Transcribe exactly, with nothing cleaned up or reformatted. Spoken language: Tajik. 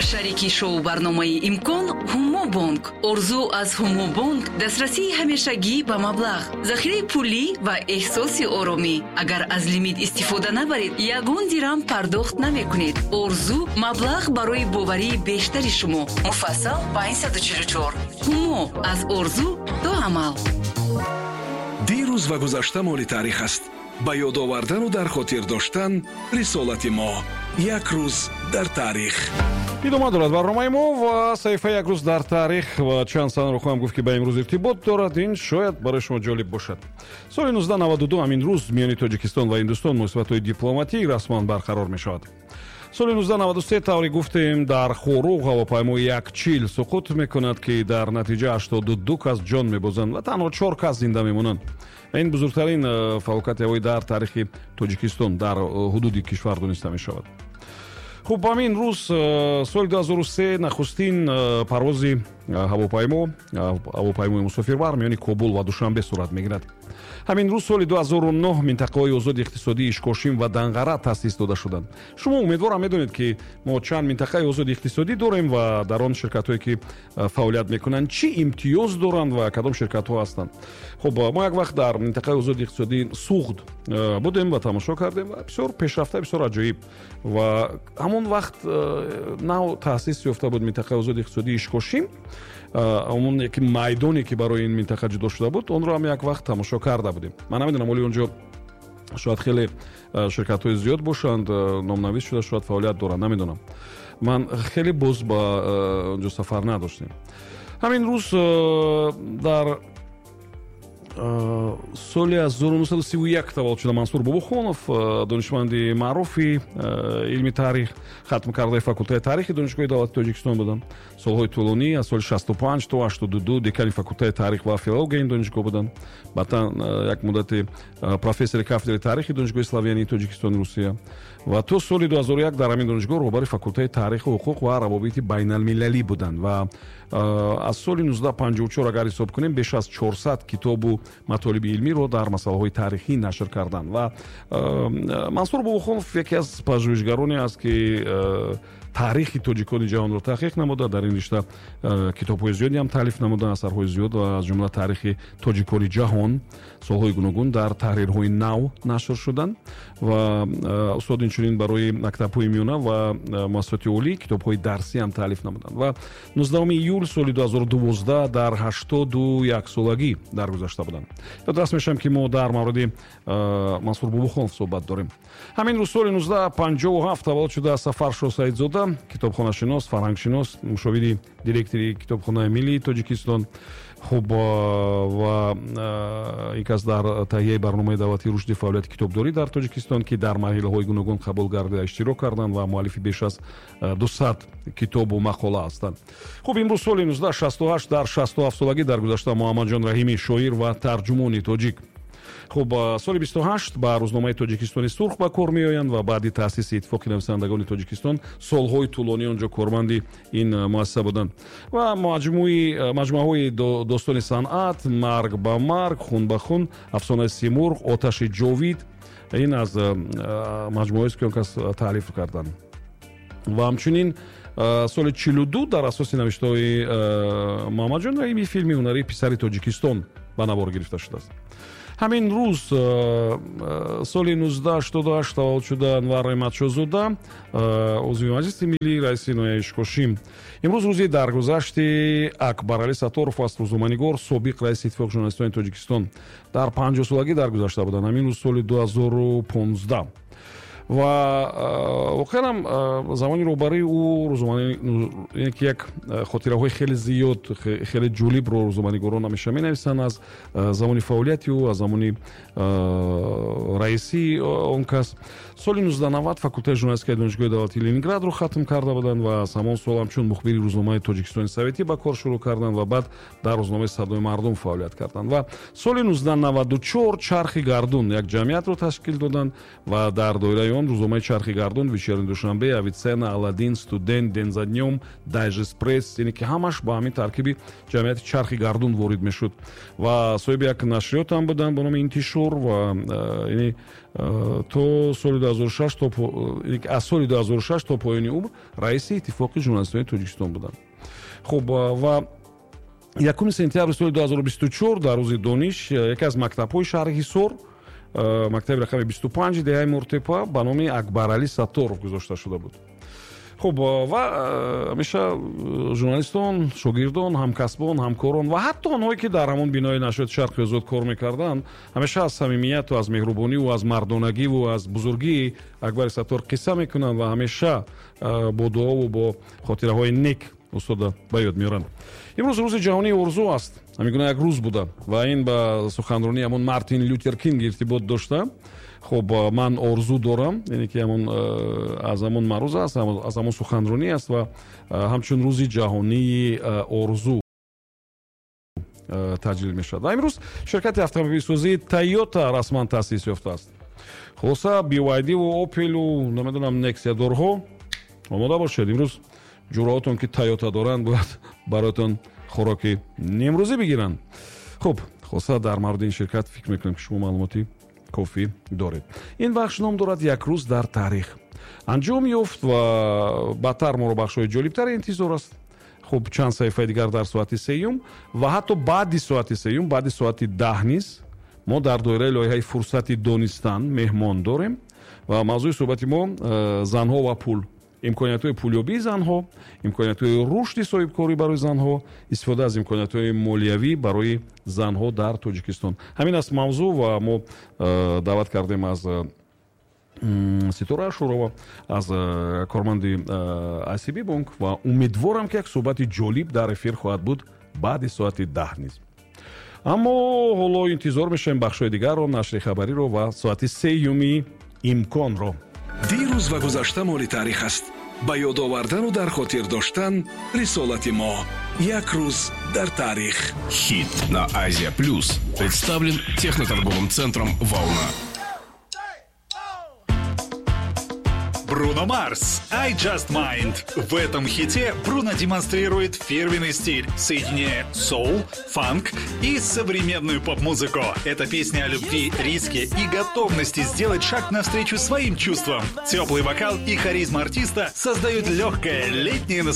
Шарики шоу барномаи «Имкон» Ҳумобонк. Орзу аз Ҳумобонк дастрасии ҳамешагӣ ба маблағ, захираи пулӣ ва эҳсоси оромӣ. Агар аз лимит истифода набаред, ягон дирам пардохт намекунед. Орзу маблағ барои боварии бештари шумо. Муфассал панҷсаду чилу чор. Ҳумо аз орзу то амал. Дирӯз ва гузашта моли таърих аст. Ба ёд овардану дар хотир доштан рисолати мо. Як рӯз дар таърих. Идома дорад барномаи мо ва саҳифаи «Як рӯз дар таърих», ва чанд санаро хоҳам гуфт, ки ба имрӯз иртибот дорад. Ин шояд барои шумо ҷолиб бошад. Соли нуздаҳ наваду ду ҳамин рӯз миёни Тоҷикистон ва Ҳиндустон муносибатҳои дипломатӣ расман барқарор мешавад. Соли нуздаҳ наваду се, тавре гуфтем, дар Хоруғ ҳавопаймои як чил суқут мекунад, ки дар натиҷа ҳаштоду ду кас ҷон мебозанд ва танҳо чор кас зинда мемонанд. Ин бузургтарин э, фалокати ҳавоӣ дар таърихи Тоҷикистон, дар э, ҳудуди кишвар дониста мешавад. Хуб, ҳамин рӯз э, соли ду ҳазору се нахустин парвози ҳавопаймо, ҳавопаймои мусофирбар, миёни Кобул ва Душанбе сурат мегирад. Ҳамин рӯз соли ду ҳазору нӯҳ минтақаҳои озоди иқтисодии Ишкошим ва Данғара таъсис дода шуданд. Шумо, умедворам, медонед, ки мо чанд минтақаи озоди иқтисодӣ дорем ва дар он ширкатҳое, ки фаъолият мекунанд, чӣ имтиёз доранд ва кадом ширкатҳо ҳастанд. Хуб, мо як вақт дар минтақаи озоди иқтисодии Суғд будем ва тамошо кардем ва бисёр пешрафта, бисёр аҷоиб. Ва ҳамон вақт нав таъсис ёфта буд минтақаи озоди иқтисодии Ишкошим. Ҳамон яке майдоне, ки барои ин минтақа ҷудо шуда буд, онро ҳам як вақт тамошо карда будем. Ман намедонам, оли онҷо шояд хеле ширкатҳои зиёд бошанд, номнавис шуда, шояд фаъолият доранд, намедонам. Ман хеле боз ба онҷо сафар надоштем. Ҳамин рӯз дар соли ҳазору нӯҳсаду сию як таваллуд шуда Мансур Бобохонов, донишманди маъруфи илми таърих, хатмкардаи факултаи таърихи Донишгоҳи давлати Тоҷикистон буданд. Солҳои тӯлонӣ, аз соли шасту панҷ то ҳаштоду ду, декани факултаи таърих ва филологияи ин донишгоҳ буданд. Баъдан як муддати профессори кафедраи таърихи Донишгоҳи Славянии Тоҷикистони Русия ва то соли ду ҳазору як дар ҳамин донишгоҳ роҳбари факултаи таъриху ҳуқуқ ва равобити байналмилалӣ буданд. Ва аз соли нуздаҳ панҷоҳу чор агар ҳисоб кунем, беш аз чорсад китобу матолиби илмиро дар масъалаҳои таърихӣ нашр карданд. Ва Мансур Бобохонов яке аз пажӯҳишгароне аст, ки таърихи тоҷикони ҷаҳонро таҳқиқ намуда, дар ин ришта китобҳои зиёде ҳам таълиф намуда, асарҳои зиёд ва аз ҷумла «Таърихи тоҷикони ҷаҳон» солҳои гуногун дар таҳрирҳои нав нашр шуданд. Ва устод инчунин барои мактабҳои миёна ва муассисоти олӣ китобҳои дарсӣ ҳам таълиф намуданд ва нуздаҳуми июл соли ду ҳазору дувоздаҳ дар ҳаштоду як солагӣ даргузашта буданд. Ёдрас мешавам, ки мо дар мавриди Мансур Бобохонов суҳбат дорем. Ҳамин рӯз соли нуздаҳ панҷоҳу ҳафт таваллуд шуда Сафаршо Саидзода, китобхонашинос, фарҳангшинос, мушовири директори Китобхонаи миллии Тоҷикистон. Хуб, ва ин кас дар таҳияи барномаи давлатии рушди фаъолияти китобдорӣ дар Тоҷикистон, ки дар марҳилаҳои гуногун қабул гардида, иштирок карданд ва муаллифи беш аз дусад китобу мақола ҳастанд. Хуб, имрӯз соли нуздаҳ шасту ҳашт дар шасту ҳафт солагӣ даргузашта Муҳаммадҷон Раҳимӣ, шоир ва тарҷумони тоҷик. Хуб, соли бисту ҳашт ба рӯзномаи «Тоҷикистони сурх» ба кор меоянд ва баъди таъсиси Иттифоқи нависандагони Тоҷикистон солҳои тӯлонӣ онҷо корманди ин муассиса буданд. Ва маҷмӯаҳои «Достони санъат», «Марг ба марг, хун ба хун», «Афсонаи Симурғ», «Оташи ҷовид» ин аз маҷмӯаҳоест, ки он кас таълиф карданд. Ва ҳамчунин соли чилу ду дар асоси навиштаҳои Муҳаммадҷон Раҳимӣ филми ҳунарии «Писари Тоҷикистон» ба навор гирифта шудааст. Ҳамин рӯз соли нуздаҳ ҳаштоду ҳашт таваллуд шуда Анвар Раҳматшозода, узви Маҷлиси миллӣ, раиси ноҳияи Ишкошим. Имрӯз рӯзи даргузашти Акбаралӣ Сатторов аст, рӯзноманигор, собиқ раиси Иттифоқи журналистони Тоҷикистон, дар панҷоҳсолагӣ даргузашта буданд ҳамин рӯз соли ду ҳазору понздаҳ. Ва воқеан ҳам замони роҳбарии ӯ рӯзномаи ки як хотираҳои хеле зиёд, хеле ҷолибро рӯзноманигорон ҳамеша менависанд аз замони фаъолияти ӯ, аз замони раисии он кас. Соли нуздаҳ навад факултаи журналистикаи Донишгоҳи давлатии Ленинградро хатм карда буданд ва аз ҳамон сол ҳамчун мухбири рӯзномаи «Тоҷикистони советӣ» ба кор шурӯъ карданд ва баъд дар рӯзномаи «Садои мардум» фаъолият карданд. Ва соли нуздаҳ наваду чор «Чархи гардун» як ҷамъиятро ташкил доданд ва дар доираи он рӯзномаи Чархи гардун, Вечерний Душанбе, Авиценна, Аладдин, Студент, День за днём, Дайджест Пресс, яъне ки ҳамаш ба ҳамин таркиби ҷамъияти Чархи гардун ворид мешуд. Ва соҳиби як нашриёт ҳам буданд ба номи Интишор ва яъне то соли ду ҳазору шаш, то аз соли ду ҳазору шаш то поёни умр раиси Иттифоқи журналистони Тоҷикистон буданд. Хуб, ва якуми сентябри соли ду ҳазору бисту чор, дар рӯзи дониш, яке аз мактабҳои шаҳри Ҳисор, мактаби рақами бисту панҷ деҳаи Муртепа, ба номи Акбаралӣ Сатторов гузошта шуда буд. Хуб, ва ҳамеша журналистон, шогирдон, ҳамкасбон, ҳамкорон ва ҳатто онҳое, ки дар ҳамон бинои нашриёти Шарқи Озод кор мекарданд, ҳамеша аз самимияту аз меҳрубониву аз мардонагиву аз бузургии Акбари Саттор қисса мекунанд ва ҳамеша бо дуову бо хотираҳои нек устода ба ёд меоранд. Имрӯз рӯзи ҷаҳонии орзу аст. Ҳамин гуна як рӯз буда ва ин ба суханронии ҳамон Мартин Лютер Кинг иртибот дошта. Хуб, ман орзу дорам, яъне ки ҳамон аз ҳамон маъруза аст, аз ҳамон суханронӣ аст ва ҳамчун рӯзи ҷаҳонии орзу таҷлил мешавад. Ва имрӯз ширкати автомобилсозии Тойота расман таъсис ёфтааст. Хулоса, B Y D-ву Опелу, намедонам, Нексиядорҳо, омода бошед, имрӯз ҷураотон, ки Тойота доранд, бояд бароятон хӯроки нимрӯзӣ бигиранд. Хуб, хулоса, дар мавриди ин ширкат фикр мекунем, ки шумо маълумоти кофӣ доред. Ин бахш ном дорад «Як рӯз дар таърих». Анҷом ёфт ва баъдтар моро бахшҳои ҷолибтаре интизор аст. Хуб, чанд саҳифаи дигар дар соати сеюм ва ҳатто баъди соати сеюм, баъди соати даҳ низ мо дар доираи лоиҳаи «Фурсати донистан» меҳмон дорем ва мавзӯи суҳбати мо э, занҳо ва пул, имкониятҳои пулёбии занҳо, имкониятҳои рушди соҳибкорӣ барои занҳо, истифода аз имкониятҳои молиявӣ барои занҳо дар Тоҷикистон. Ҳамин аст мавзӯъ ва мо э, даъват кардем аз Ситора Ашурова, аз э, корманди I C B бонк ва умедворам, ки як суҳбати ҷолиб дар эфир хоҳад буд баъди соати даҳ низ. Аммо ҳоло интизор мешавем бахшҳои дигарро, нашри хабариро ва соати сеюми Имконро. Дирӯз ва гузашта моли таърих аст. Ба ёд овардану дар хотир доштан рисолати мо. Як рӯз дар таърих. Хит на Азия Плюс представлен техноторговым центром «Волна». Бруно Марс «I Just Might». В этом хите Бруно демонстрирует фирменный стиль, соединяя соул, фанк и современную поп-музыку. Это песня о любви, риске и готовности сделать шаг навстречу своим чувствам. Теплый вокал и харизма артиста создают легкое летнее